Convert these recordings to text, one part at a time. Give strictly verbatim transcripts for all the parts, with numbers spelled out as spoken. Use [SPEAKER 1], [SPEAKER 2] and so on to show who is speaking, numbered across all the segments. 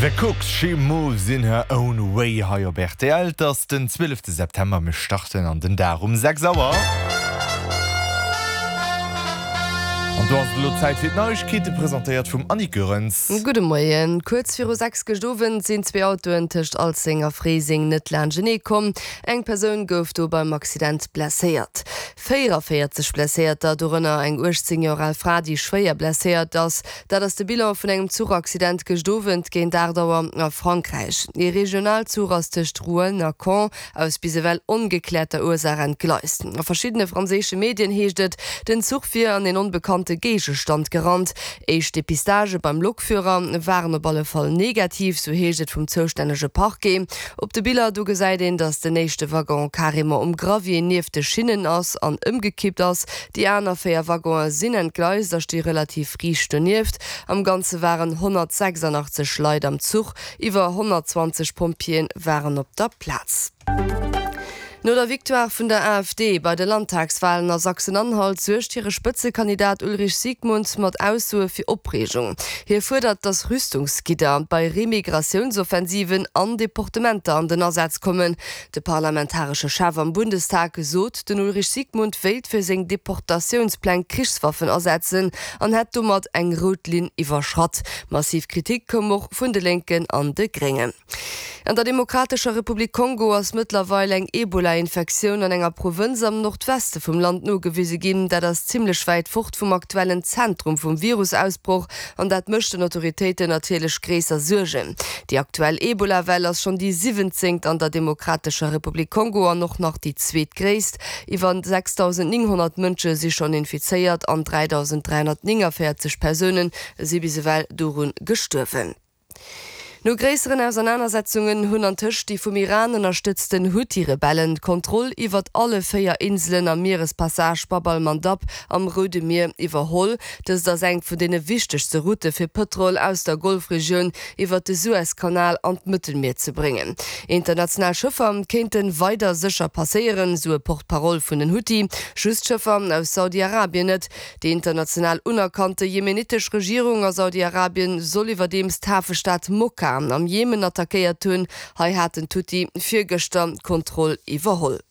[SPEAKER 1] The Kooks, She Moves in Her Own Way hei op R T L. Et ass den zwielefte September, mir starten an den Dag um sechs Auer. An do ass et elo Zäit fir d'Neiegkeete, presentéiert vum Annick Goerens.
[SPEAKER 2] Gudde Moien. Kuerz viru sechs gëscht Owend sinn zwee Autoen tëscht Alzeng a Fréiseng net laanschtenee komm. Eng Persoun gouf do beim Accident blesséiert. véieranvéierzeg Blesséierter, dorënner eng uechtzéng Joer al Fra, déi schwéier blesséiert ass. Dat ass de Bilan vun engem Zuchaccident gëscht Owend géint aacht Auer a Frankräich. Ee Regionalzuch ass tëscht Rouen a Caen aus bis ewell ongekläerter Ursaach entgleist. A verschiddene franséische Medien heescht et, den Zuch wier an een onbekannte Géigestand gerannt. Éischt Depistagë beim Lokführer waren op alle Fall negativ, sou heescht et vum zoustännege Parquet. Op de Biller do gesäit een, datt den éischte Waggon carrément um Gravier nieft de Schinnen ass an ëmgekippt ass. Déi aner véier Waggonen sinn entgleist a sti relativ riicht donieft. Am Ganze waren honnertsechsandachtzeg Leit am Zuch, iwwer honnertzwanzeg Pompjeeë waren op der Plaz. No der Victoire vun der A F D bei de Landtagswalen a Sachsen-Anhalt suergt hire Spëtzekandidat Ulrich Siegmund mat Aussoe fir Opreegung. Hie fuerdert, datt Rüstungsgidder bei Remigratiouns-Offensiven an Deportementer an den Asaz kommen. De parlamentaresche Chef am Bundestag sot, den Ulrich Siegmund wéilt fir seng Deportatiounspläng Krichswaffen asetzen an hätt domat eng rout Linn iwwerschratt. Massiv Kritik koum och vun de Lénken an de Gréngen. An der Demokratescher Republik Kongo ass mëttlerweil eng Ebola-Infektioun an enger Provënz am Nordweste vum Land nogewise ginn. Dat ass zimmlech wäit fort vum aktuellen Zentrum vum Virusausbroch an dat mécht den Autoritéiten natierlech gréisser Suergen. Déi aktuell Ebola-Well ass schonn déi siwwenzéngt an der Demokratescher Republik Kongo an och nach déi zweetgréisst. Iwwer sechsdausendnénghonnert Mënsche si schonn infizéiert an dräidausend dräihonnertnénganvéierzeg Persoune si bis ewell dorun gestuerwen. No gréisseren Ausernanersetzungen hunn antëscht déi vum Iran ënnerstëtzten Huthi-Rebellen d'Kontroll iwwert alle véier Inselen am Mierespassage Bab al-Mandab am Roude Mier iwwerholl. Dëst ass eng vun deene wichtegste Routte fir Pëtrol aus der Golfregioun iwwert de Suezkanal an d'Mëttelmier ze bréngen. International Schëffer kéinte weider sécher passéieren, sou e Porte-parole vun den Huthi, just Schëffer aus Saudi-Arabien net. Déi international unerkannte jemenitesch Regierung a Saudi-Arabien soll iwwerdeems d'Hafestad Mokka am Jemen attackéiert hunn. Hei haten d'Huthi virgëschter d'Kontroll iwwerholl.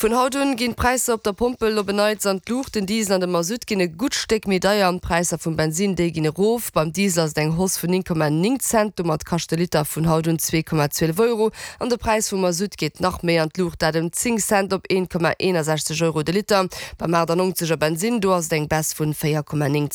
[SPEAKER 2] Vun haut un ginn d'Präisser op der Pompel op en Neits an d'Luucht. Den Diesel an de Masutt ginn e gutt Stéck méi deier an d'Präisser vum Bensin, déi ginn erof. Beim Diesel ass et eng Hausse vun néng Komma néng Cent, domat kascht de Liter vun haut un zwee Komma zwielef Euro. An de Präis vum Masutt geet nach méi an d'Luucht, dat ëm zéng Cent op een Komma eenundsechzeg Euro de Liter. Beim achtannonzeger Bensin, do ass et eng Baisse vun véier Komma néng.